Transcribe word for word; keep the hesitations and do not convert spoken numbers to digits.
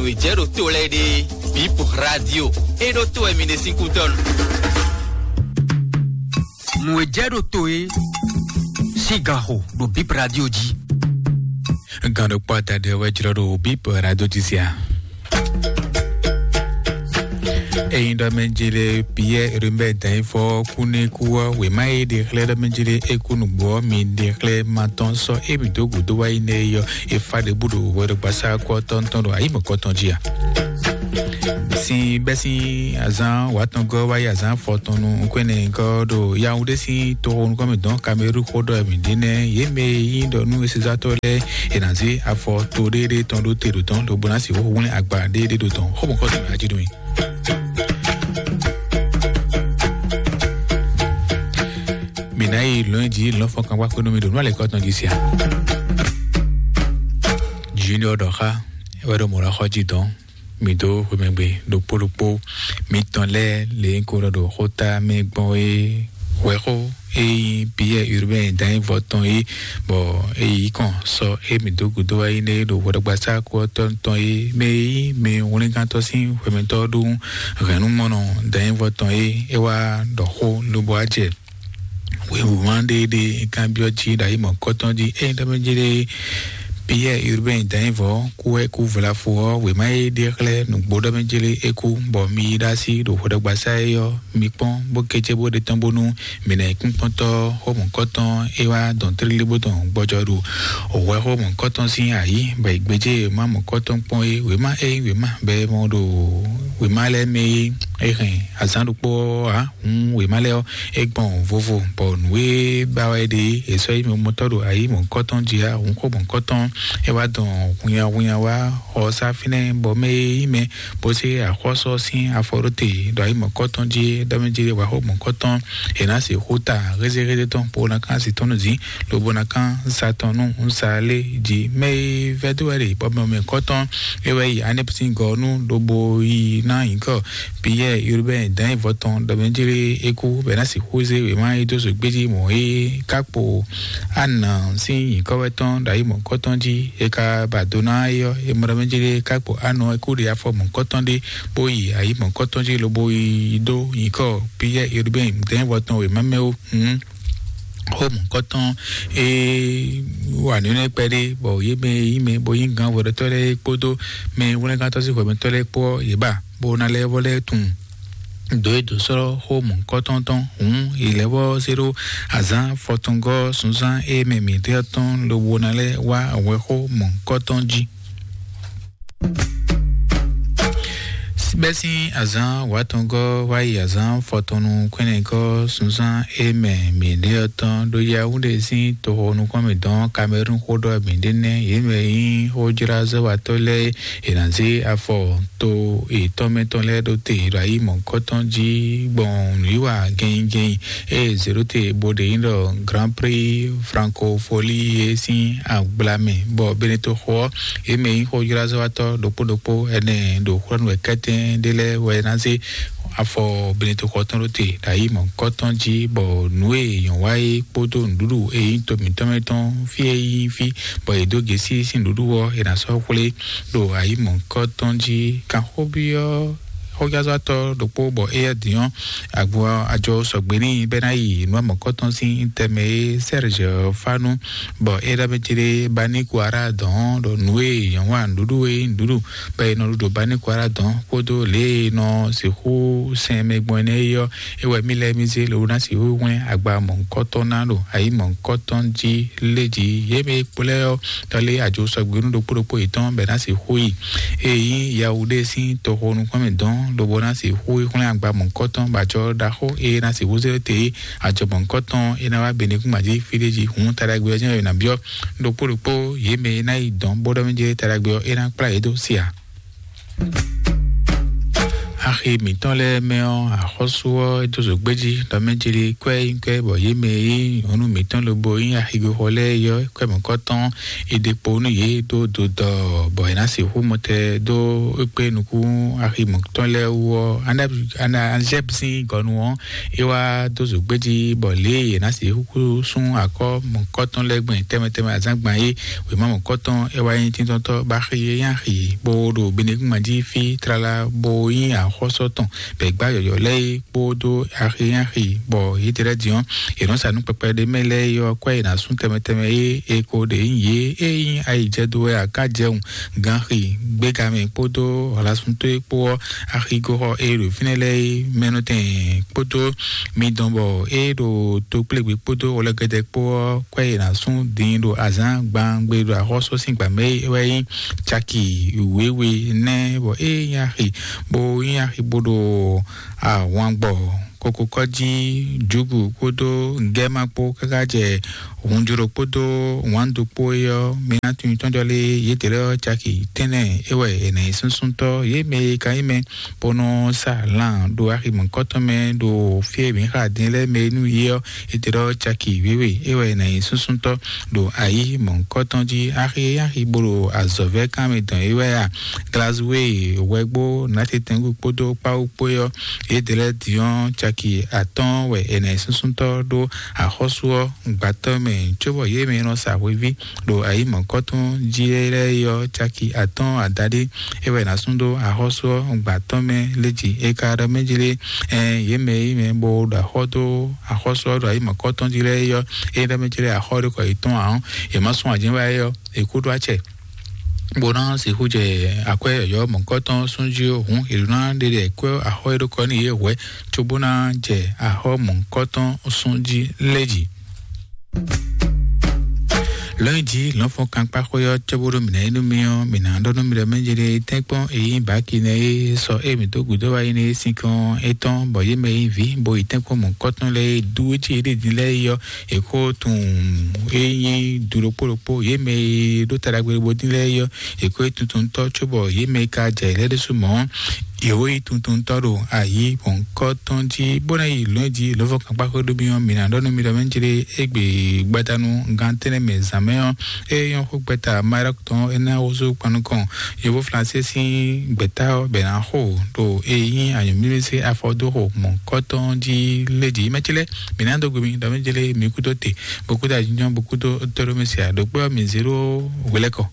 Wějɛ́ ɖo to lɛ́ɛ ɖe, Bip Radio. É ɖó to wɛ mi ɖe sín kútɔ́nu. Nǔ e jɛ ɖo to e sín ganxo ɖo Bip Radio jí. Gan ɖokpó adaɖé wɛ jlɔ́ ɖo Bip Radio jí sia. Eyin ɖɔ mɛ jele Pierre Rumɛ Danyifɔ kú ní kú ɔ́, wěma e ɖe xlɛ́ ɖɔ mɛ jele é kú nǔgbó ɔ́, mi ɖe xlɛ́ ma tɔn sɔ́ émí dó gǔdo wá yi nɛ yɔ. Efa ɖěbǔ ɖo hwɛɖogbasá kɔ́tɔn tɔn ɖo ayǐmɔ̌kɔtɔn jí a? Sin bɛ́ sín azán wǎtɔngɔ́ wá yi azán fɔtɔn nu nukúnɛ́ gɔ́ ɖo Yaoundé sín toxo nukɔn mɛ dɔn Kamerun xó ɖɔ mǐ ɖe nɛ́. Yě mɛ e nyí ɖɔ nú esezatɔ́ lɛ́ɛ è nǎ zé afɔ to ɖéɖé tɔn ɖó te ɖo tɔn lobo ná sixú hwlɛ́n agba ɖéɖé ɖo tɔn xó mɔ̌kɔtɔn mɛ ají nú mì. Mǐ ná yi lɔ̌nyijǐ lɔ̌nfɔ́n kan wá xwé nú mi ɖo nú alɛ̌kɔ tɔn jí sia. Junior ɖɔ xá wɛ ɖo mɔ̌ lɔ xɔ jí dɔn. Mǐ dó xwemɛgbe ɖokpó ɖokpó mitɔn lɛ́ɛ lě ko ɖɔ ɖo xóta mɛ gbɔn é hwɛxó e nyí Pierre Urbain Danyivɔ tɔn é, bɔ é yi kɔn sɔ é mǐ dó gǔdo wá yi nɛ é ɖo hwɛɖɔgbasá kú ɔ́ tɔn tɔn é mɛ e nyí mɛ hwlɛ́ngántɔ́ sín hwɛmɛtɔ́ ɖó hɛ̌nnumɔnɔ Danyivɔ tɔn é é wá ɖɔ xó lobo wá jɛ wěwúma ɖé ɖé kanbyɔ́ jí ɖo ayǐ mɔ̌kɔtɔn jí. Ényí ɖɔ mɛ jí ɖé Pierre Urbain Danyivɔ kú wɛ kú vlafo ɔ́, wěma e ɖe xlɛ́ nǔgbó ɖɔ mɛ jí ɖé é kú, bɔ mi yi ɖó así ɖo hwɛɖɔgbasá é ɔ́, mi kpɔ́n bó kécé bó ɖe tɔn bónú mǐ ná yi kpínkpɔ́ntɔ́ xó mɔ̌kɔtɔn é wá dɔn tlílí bó dɔn gbɔjɔ ɖo hwɛ xó mɔ̌kɔtɔn sín ayǐ, bɔ è gbéjé wěma mɔ̌kɔtɔn kpɔ́n é. Wěma é nyí wěma bɔ è mɔ ɖo wěma lɛ́ɛ mɛ é, é hɛn azǎn ɖokpó ɔ́ ǎ. Hǔn wěma lɛ́ɛ ɔ́, é gbɔn vovo, bɔ nǔ e ba wɛ ɖe é, è sɔ́ yi mɔtɔ́ ɖo ayǐ mɔ̌kɔtɔn jí ǎ. Hǔn xó mɔ̌kɔtɔn é wá dɔn hunnyahunnya wá xɔ sá fínɛ́, bɔ mɛ e nyí mɛ bó sé axɔ́sɔ sín afɔ ɖó te ɖo ayǐ mɔ̌kɔtɔn jí é, ɖɔ mɛ jí wǎ xó mɔ̌kɔtɔn è nǎ sixú ta hézéhézé tɔn bó ná kán asi tɔn nú zǐn, lobo ná kán sa tɔn nú un sa lé jí. Mɛ e vɛ́ dó wɛ ɖe bɔ mɛ mɔ̌kɔtɔn é wɛ yi anɛ́psín gɔ́ nú lobo yi ná nyǐkɔ Pierre Urbain Danyivɔ tɔn ɖɔ mɛ jí é kú bɔ é ná sixú zé wěma e dó zǒgbéjí mɔ̌ é ká kpo Ana sín nyǐkɔ wɛ tɔn ɖo ayǐ mɔ̌kɔtɔn jí. È ka ba do ná é ɔ́, è mɔ ɖɔ mɛ jí ɖé ká kpo Anɔ é kú ɖe afɔ mɔ̌kɔtɔn ɖé bó yi ayǐ mɔ̌kɔtɔn jí lobo yi dó nyǐkɔ Pierre Urbain Danyivɔ tɔn wěma mɛ ó. Hǔn xó mɔ̌kɔtɔn e wa nǔ énɛ́ kpɛɖé, bɔ yě mɛ e nyí mɛ bó nyí gǎn hwɛɖɔtɔ́ lɛ́ɛ kpódó mɛ hwlɛ́ngántɔ́ sín hwɛmɛtɔ́ lɛ́ɛ kpó ɔ́, yě ba bó ná lɛ́ vɔ lɛ́ tunwun dǒ e dǒ sɔ́ xó mɔ̌kɔtɔn tɔn. Hǔn è lɛ́ vɔ zé ɖó azǎn fɔtɔngɔ́ sunzán e mɛ mǐtɛ́ tɔn lobo ná lɛ́ wá hwɛxó mɔ̌kɔtɔn jí. Bɛ́ sín azǎn wǎtɔngɔ́ wá yi azǎn fɔtɔnnu kwɛ́nɛgɔ́ sunzán e mɛ mǐɖé ɔ́ tɔn ɖó Yawúnde sín toxo nukɔn mǐtɔn Kamɛrún xó ɖɔ mǐɖé nɛ́. Yě mɛ e nyí xójlázɔ́watɔ́ lɛ́ɛ è nǎ zé afɔ to yětɔn mɛ tɔn lɛ́ɛ ɖó te ɖo ayi mɔ̌hunkɔtɔn jí gbɔn nǔwiwa gɛnnyigɛnnyi e zě ɖó te bó ɖe nyí ɖɔ Grand Prix Francophonie é sín agbla mɛ, bɔ Beneto xo ɔ́, yě mɛ e nyí xójlázɔ́watɔ́ ɖokpó ɖokpó ɛnɛ ɖo xwlɛ́nú wɛ kɛ́tɛ́n ɖé lɛ́ɛ wɛ ná zé afɔ Beneto xɔ tɔn ɖó te ɖo ayi mɔ̌hunkɔtɔn jí, bɔ nǔ e nyɔ̌ wa é kpódó nǔɖuɖu e nyí to mǐtɔn mɛ tɔn fí e nyí fí, bɔ è dǒ gěsí sín nǔɖuɖu ɔ́, è nǎ sɔ́ xwlé ɖo ayi mɔ̌hunkɔtɔn jí. Kanxóbyɔ́ xójázɔ́tɔ́ ɖokpó bɔ éyɛ́ din ɔ́, agbo ajɔ sɔgbe n'i bɔ é ná yi nǔ mɔ̌kɔtɔn sín tɛnmɛ é Serge Fanu, bɔ é ɖɔ mɛ céɖé Bani Kuara dɔn ɖɔ nǔ e nyɔ̌nu wa nǔɖuɖu e nyí nǔɖuɖu bɔ è nɔ ɖu ɖo Bani Kuara dɔn kpódó lě e è nɔ sixú sɛn mɛ gbɔn énɛ́ é ɔ́, é wɛ mì lɛ́ mì zé lobo ná sixú hwlɛ́n agba mɔ̌hunkɔtɔn ná ɖo ayi mɔ̌hunkɔtɔn jí lé jí. Yě mɛ e kplɔ́ ɔ́, tɔ́ lé ajo sɔgbe nú ɖokpó ɖokpó yětɔn bɔ è ná sixú yi. Ée nyí Yawuɖée sín toxo nukúnmɛ dɔn lobo ná sixú yi hwlɛ́n agba mɔ̌hunkɔtɔn bɔ ajɔ ɖaxó e ná sixú zé te é, ajɔ mɔ̌hunkɔtɔn é ná wá Benekúngban jí fí ɖé jí. Hǔn taɖagbe ɔ́ jɛ́n wɛ è nǎ byɔ́ ɖokpó ɖokpó yě mɛ e ná yi dɔn bó ɖɔ mì jɛ taɖagbe ɔ́, é ná kplá yě dó sia. Axi mǐtɔn lɛ́ɛ mɛ ɔ́, axɔ́sú ɔ́ é dó zǒgbéjí ɖɔ mɛ jeli kwɛ́ nyí kwɛ́, bɔ yě mɛ e nyí nyɔ̌nu mǐtɔn lobo nyí axigoxɔ lɛ́ɛ é ɔ́, kwɛ́ mɔ̌kɔtɔn é ɖe kpo nú yě dó dodɔ, bɔ è nǎ sixú mɔtɛ dó é kpé nukún axi mǐtɔn lɛ́ɛ wú ɔ́, Anzɛ́b sín gɔnu ɔ́, é wá dó zǒgbéjí, bɔ lě e è nǎ sixú sú akɔ́ mɔ̌kɔtɔn lɛ́ɛ gbɛn tɛnmɛ tɛnmɛ azǎngban é, wěma mɔ̌kɔtɔn é wá nyí tíntɔ́ntɔ́ bó axi é nyí axi bó ɖo benegúngban jí fí tlala bó nyí axɔ́sɔ tɔn bɛ̌ gbá yɔ̌yɔ́ lɛ́ɛ é kpódó axi é nyí axi, bɔ yědɛ́ lɛ́ɛ din ɔ́, è nɔ́ sa nú kpɛkpɛ ɖé mɛ lɛ́ɛ é ɔ́, kwɛ́ è nǎ sú tɛnmɛ tɛnmɛ é è ko ɖě nyí yě é nyí ayǐjɛdo wɛ akájɛwun ganxi gbégamɛ kpódó hlasunto e kpó ɔ́, axigoxɔ e ɖo fínɛ́ lɛ́ɛ é mɛnɔtɛn kpódó midɔn bɔ é ɖo tokplégbé kpódó wlɛgɛdɛ kpó ɔ́, kwɛ́ è nǎ sú din ɖo azǎn gbangbe ɖo axɔ́sú sín gbǎmɛ é wɛ nyí caki wěwe nɛ́, bɔ é nyí axi bó nyí axi bó ɖo ahwangbɔ kokokɔ́ jí, jǔgu kpódó gɛ́ma kpó káká jɛ hunjló kpódó wǎndo kpó é ɔ́, mi ná tunwun tɔ́njɔ lé yědɛ́ lɛ́ɛ ɔ́ caki tɛ́nnɛ é wɛ è nǎ nyí súnsúntɔ́, yě mɛ e ka nyí mɛ bó nɔ́ sa lan ɖo axi mɔ̌kɔtɔn mɛ ɖo fí e mǐ xa din lɛ́ɛ mɛ nú yě ɔ́, yědɛ́ lɛ́ɛ ɔ́ caki wěwe é wɛ è nǎ nyí súnsúntɔ́ ɖo ayǐ mɔ̌kɔtɔn jí. Axi e nyí axi bó ɖo azɔ̌vɛ́ kan mɛ dɔn é wɛ a, Glazue, Wɛgbó, Nátitɛngu kpódó Kpáwú kpó é ɔ́, yědɛ́ lɛ́ɛ din ɔ́ caki atɔ́ɔ́n wɛ è nǎ nyí súnsúntɔ́ ɖó axɔ́sú ɔ́ gbǎtɔ́ mɛ, cóbɔ yě mɛ e nɔ sa hweví ɖo ayǐ mɔ̌kɔtɔn jí lɛ́ɛ é ɔ́ caki atɔ́ɔ́n adaɖé é wɛ è nǎ sú ɖó axɔ́sú ɔ́ gbǎtɔ́ mɛ léjì. È ka ɖɔ mɛ jí lé, ɛn yě mɛ e nyí mɛ bó ɖo axɔ́ dó axɔ́sú ɔ́ ɖo ayǐ mɔ̌kɔtɔn jí lɛ́ɛ é ɔ́, é ɖɔ mɛ jí lé axɔ́ ɖé kɔ yětɔn ǎ ɔ́, è má sún ajɛ̌ wá é ɔ́, è kú ɖó acɛ. Bó ná sixú jɛ akwɛ́ yɔ̌yɔ́ mɔ̌kɔtɔn sún jí ó hǔn, è ɖǒ ná ɖe ɖɛ kwɛ́ axɔ́ e ɖó kɔ n'i é hwɛ̌, cóbó ná jɛ axɔ́ mɔ̌kɔtɔn sún jí lɛ́ jí. Lɔ̌nyijǐ lɔ̌nfɔ́n kankpáxwé ɔ́ cóbó ɖó mǐ ná yí nú mì ɔ́, mǐ ná ɖɔ nú mi ɖɔ mɛ jɛ ɖe tɛ́nkpɔ́n e nyí bǎki nɛ́ é sɔ é mǐ dó gǔdo wá yi nɛ́ é sín kɔn étɔn, bɔ yě mɛ e nyí vǐ bo yi tɛ́nkpɔ́n mɔ̌kɔtɔn lɛ́ɛ é dú é cí yě ɖe din lɛ́ɛ é ɔ́, è ko tunwun é nyí du ɖokpó ɖokpó, yě mɛ e ɖó ta ɖagbe bo dín lɛ́ɛ é ɔ́, è ko nyí tuntuntɔ́, cóbɔ yě mɛ e ka jɛ yě lɛ́ɛ ɖésú mɔ̌ ɔ́, yě ko nyí tuntuntɔ́ ɖo ayǐ mɔ̌kɔtɔn jí, bó ná yi lɔ̌nyijǐ lɔ̌nfɔ́n kankpáxwé ɖó mì ɔ́, mǐ ná ɖɔ nú mi ɖɔ mɛ jɛ ɖe égbé gbadanu gan tɛ́nnɛ mɛ zǎn mɛ ɔ́, é nyɔ́ xó gbɛ́ta Maroc tɔn é ná wúzú kpan nukɔn yovo Flansé sín gbɛ̌ta ɔ́ bɛ ná xo ɖo e nyí anyǔmímísí afɔdóxo mɔ̌kɔtɔn jí lé jí. Mɛ ce lɛ́ɛ, mǐ ná dó gbe mi ɖɔ mɛ ce lɛ́ɛ mi kúdó te, bó kúdó ajínjɔ́n, bó kúdó tóɖómísí ǎ, ɖo kpé ɔ́ mi zé ɖó hwelɛ́kɔ.